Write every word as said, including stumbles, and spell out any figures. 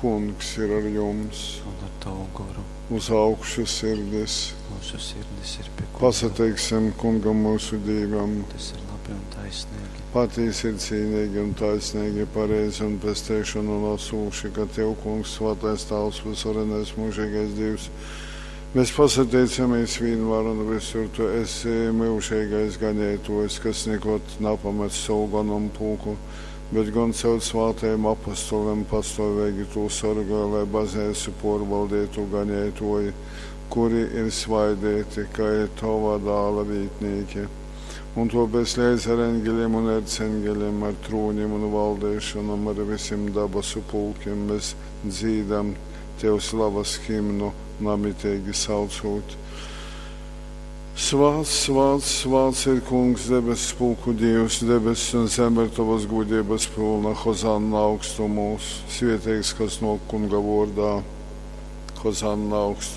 Kungs ir ar jums. Un ar tavu goru. Uz augšu sirdis. Mūsu sirdis ir pie Kunga. Pasateiksim Kungam mūsu Dīvam. Tas ir labi un taisnīgi. Patiesi ir cīnīgi un taisnīgi, pareizi un pesteišanu nesūši, ka Tev, Kungs, svētais Tāvs, visvarenais mūžīgais Dievs, mēs pasateicamies vienmēr un visur, Tu esi mūžīgais ganētojs, kas nekad napamet savu ganumu pulku, bet gan caur svātajiem apostoliem pastāvīgi to sargā, lai baznīcu porvaldītu ganētoji, kuri ir svaidīti, kā ir Tava dāla vītnīki. Un tāpēc līdz ar eņģeļiem un erceņģeļiem, ar trūņiem un valdīšanām, ar visiem dabasu pulkiem mēs dzīdam Tev slavas himnu, namitīgi saucot. Svāts, svāts, svāts ir Kungs, debesu pulku Dievs, debesis un zeme ir tavas gudrības pilna, Hozanna augstumos, svētīgs, kas no Kunga vārdā, Hozanna augstumos.